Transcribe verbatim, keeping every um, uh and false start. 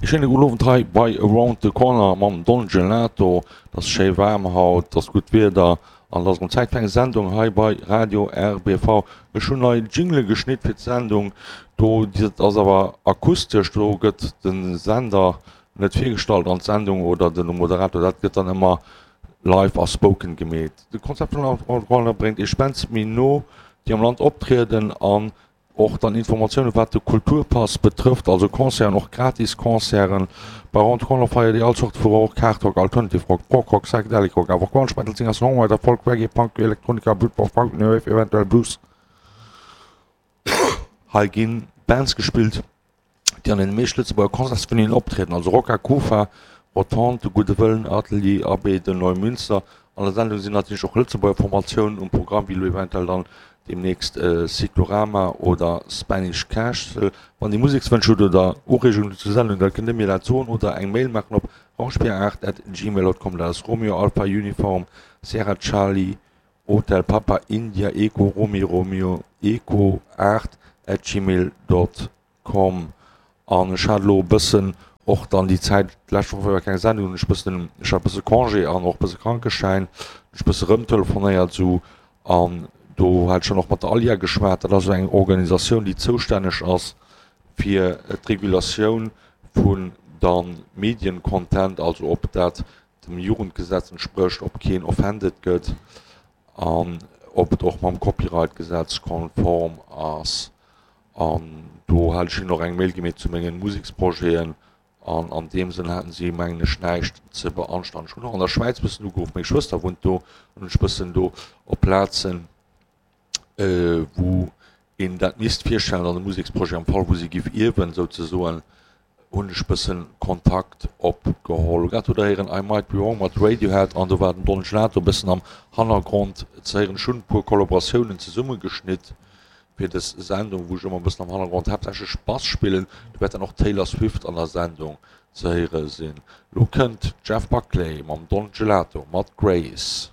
Schéine gudden Owend hei bei Around the Corner mam Don Gelato. Et ass schéi waarm haut, et ass gutt Wieder an et ass erëm Zäit fir eng Sendung hei bei Radio RBV. Ech hunn nei Jingle geschnitt fir d'Sendung. Do, dat ass awer akustesch, do gëtt de Sender net virgestallt an d'Sendung oder de Moderator. Dat gëtt dann ëmmer live a spoken gemeet. De Konzept vun Around the Corner bréngt iech Bands méi no, déi am Land optrieden an och dann Informatiounen wat de Kulturpass betrëfft, also Concerten, och gratis Concerten. Bei Around the Corner feiert dir all Zort vu Rock, Hard Rock, Alternative Rock, Prog Rock, Psychedelic Rock, awer och Grunge, Metal, Singer, Songwriter, Folk, Reggae, Punk, Elektronika, Britpop, Funk, New Wave, eventuell Blues. Hei gi Bands gespillt, déi an den meescht Lëtzebuerger Concertsvenuen optrieden, also Rocca Kufa, Rotonde, De Gudde Wëllen, Atelier Abbé de Neumünster. An der Sendung sinn natierlech och Lëtzebuerger Formatiounen um Programm, wéi elo eventuell dann deemnächst Cyclorama oder Spanish Castle. Wann Dir Musekswënsch hutt oder Ureegungen zur Sendung, da kënnt Dir mir dat soen oder eng Mail maachen op rangebier aacht at gmail dot com. Dat ass Romeo Alpha Uniform Sierra Charlie Hotel Papa India Echo Romeo Romeo Echo aacht at gmail dot com. An ech hat elo e bëssen och dann déi Zäit, d'lescht Woch war jo keng Sendung, hunn ech bëssen, ech hat bësse Congé an och bësse Krankeschäin, hunn ech bësse rëmtelefonéiert esou an do hat ech dann och mat der ALIA geschwat. Dat ass esou eng Organisatioun, déi zoustänneg ass fir d'Regulatioun vun der Mediencontent, also ob dat dem Jugendgesetz entsprécht, ob keen offended gëtt an ob et och mam Copyright-Gesetz konform ass. An do hat ech hinnen och eng Mail gemeet zu mengen Museksprojeten an an deem Sënn haten si mengen ech näischt ze beanstanden. Ech hunn och an der Schwäiz bëssen ugeruff, meng Schwëster wunnt do, an hunn ech bëssen do op Plazen wou een dat misst virstellen an de Museksprojet am Fall wou si giff ierwen souzesoen, hunn ech bëssen Kontakt opgeholl. Grad hutt der héieren I Might Be Wrong mat Radiohead an do war den Don Gelato bëssen am Hannergrond ze héieren. Ech hunn e puer Kollaboratiounen zesummegeschnitt fir dës Sendung, wou ech ëmmer bëssen am Hannergrond haaptsächlech Bass spillen. Do wäert dann och Taylor Swift an der Sendung ze héiere sinn. Lo kënnt Jeff Buckley mam Don Gelato mat Grace.